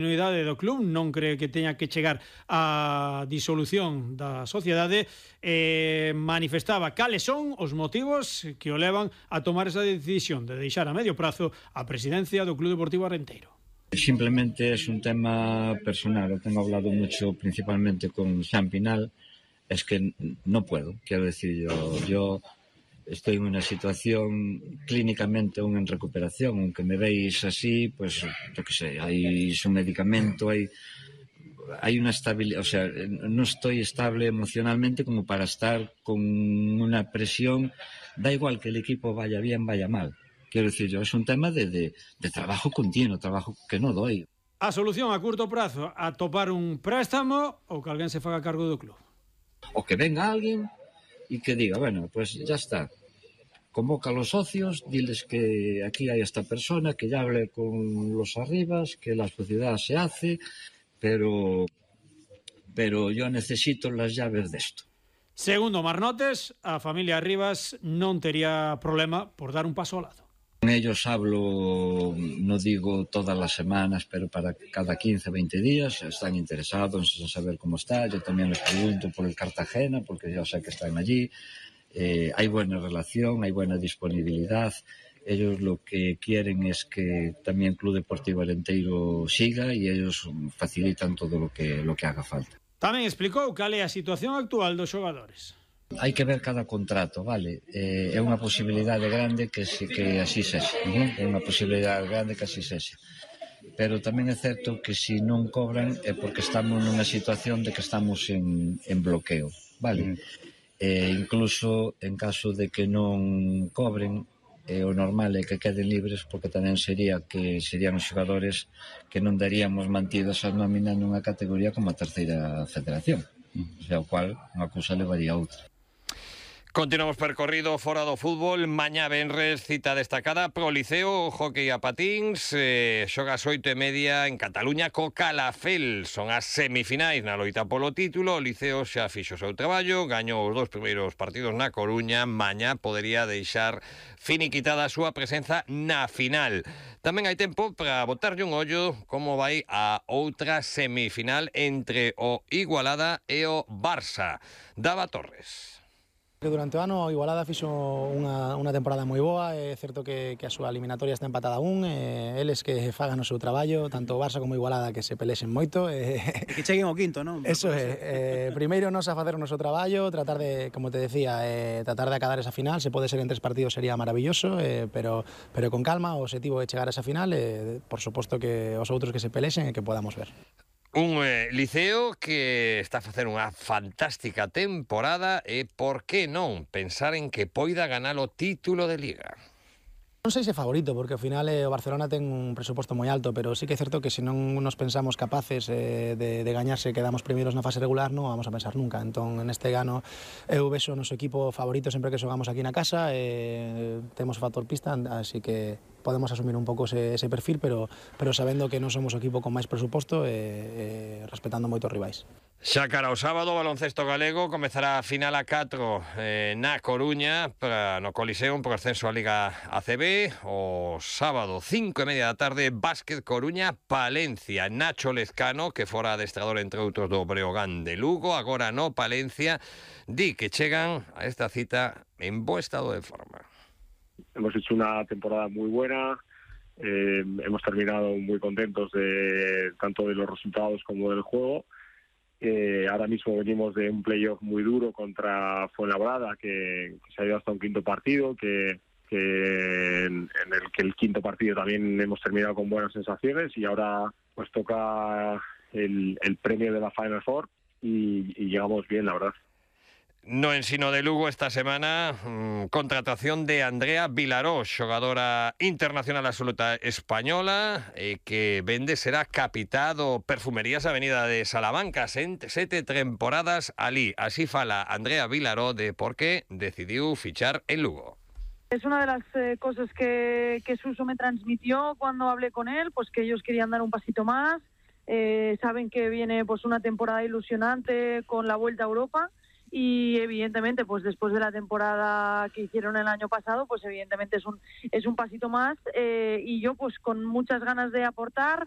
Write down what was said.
Unidade do club non cree que teña que chegar á disolución da sociedade e manifestaba cales son os motivos que o levan a tomar esa decisión de deixar a medio prazo a presidencia do Club Deportivo Arenteiro. Simplemente es un tema personal, lo tengo hablado mucho principalmente con Xan Pinal, es que no puedo, quiero decir, yo estoy en una situación clínicamente aún en recuperación, aunque me veis así, pues yo qué sé, hay su medicamento, hay una estabilidad, o sea, no estoy estable emocionalmente como para estar con una presión, da igual que el equipo vaya bien, vaya mal. Quiero decir yo, es un tema de trabajo continuo, trabajo que no doy. A solución a curto prazo, a topar un préstamo ou que alguén se faga cargo do club. O que venga alguien y que diga, bueno, pues ya está. Convoca a los socios, diles que aquí hay esta persona, que ya hable con los arribas, que la sociedad se hace, pero yo necesito las llaves de esto. Segundo Marnotes, a familia Rivas non tería problema por dar un paso ao lado. Con ellos hablo, no digo todas las semanas, pero para cada 15, 20 días están interesados en saber cómo está. Yo también les pregunto por el Cartagena, porque ya sé que están allí. Hay buena relación, hay buena disponibilidad. Ellos lo que quieren es que también Club Deportivo Arenteiro siga y ellos facilitan todo lo que haga falta. Tamén explicou cal é a situación actual dos xogadores. Hai que ver cada contrato, vale? É unha posibilidade grande que así sexa, é unha posibilidade grande que así sexa. Pero tamén é certo que se non cobran é porque estamos nunha situación de que estamos en bloqueo, vale? Incluso en caso de que non cobren, o normal é que queden libres, porque tamén serían os xogadores que non daríamos mantidos a nómina nunha categoría como a terceira federación, o sea, o cual unha cousa levaría a outra. Continuamos percorrido fora do fútbol. Mañá venres, cita destacada pro Liceo, hockey a patíns, xoga ás 8:30 en Cataluña co Calafel. Son as semifinais na loita polo título. O Liceo xa fixo o seu traballo, gañou os 2 primeiros partidos na Coruña. Mañá podería deixar finiquitada a súa presenza na final. Tamén hai tempo para botarlle un ollo como vai a outra semifinal entre o Igualada e o Barça. Dava Torres. Durante o ano o Igualada fixo unha temporada moi boa, é certo que a súa eliminatoria está empatada aún, eles que fagan o seu traballo, tanto o Barça como o Igualada que se pelexen moito. E que cheguen ao quinto, non? Eso é, primeiro nos a facer o noso traballo, tratar de, como te decía, tratar de acabar esa final, se pode ser en 3 partidos sería maravilloso, pero con calma, o objetivo é chegar a esa final, por suposto que os outros que se pelexen e que podamos ver. Un Liceo que está a facer unha fantástica temporada e por que non pensar en que poida ganar o título de Liga. Non sei se favorito, porque ao final o Barcelona ten un presuposto moi alto, pero sí que é certo que se non nos pensamos capaces de gañarse, quedamos primeiros na fase regular, non vamos a pensar nunca. Entón, neste gano, eu vexo o noso equipo favorito sempre que xogamos aquí na casa, temos o factor pista, así que podemos asumir un pouco ese perfil, pero sabendo que non somos o equipo con máis presuposto e respetando moito os rivais. Xa cara ao sábado, o baloncesto galego comezará a final a 4 na Coruña no Coliseum por ascenso á Liga ACB. O sábado, 5:30 da tarde, Básquet Coruña, Palencia. Nacho Lezcano, que fora adestrador entre outros do Breogán de Lugo, agora no Palencia, di que chegan a esta cita en bo estado de forma. Hemos hecho una temporada muy buena, hemos terminado muy contentos tanto de los resultados como del juego. Ahora mismo venimos de un playoff muy duro contra Fuenlabrada, que se ha ido hasta un quinto partido, en el que el quinto partido también hemos terminado con buenas sensaciones, y ahora pues toca el premio de la Final Four y llegamos bien, la verdad. No ensino de Lugo esta semana, contratación de Andrea Vilaró, xogadora internacional absoluta española, que vende será capitá do Perfumerías Avenida de Salamanca, 7 temporadas alí. Así fala Andrea Vilaró de por qué decidiu fichar en Lugo. Es una de las cosas que Suso me transmitió cuando hablé con él, pues que ellos querían dar un pasito más, saben que viene pues una temporada ilusionante con la Vuelta a Europa. Y evidentemente pues después de la temporada que hicieron el año pasado, pues evidentemente es un pasito más, y yo pues con muchas ganas de aportar,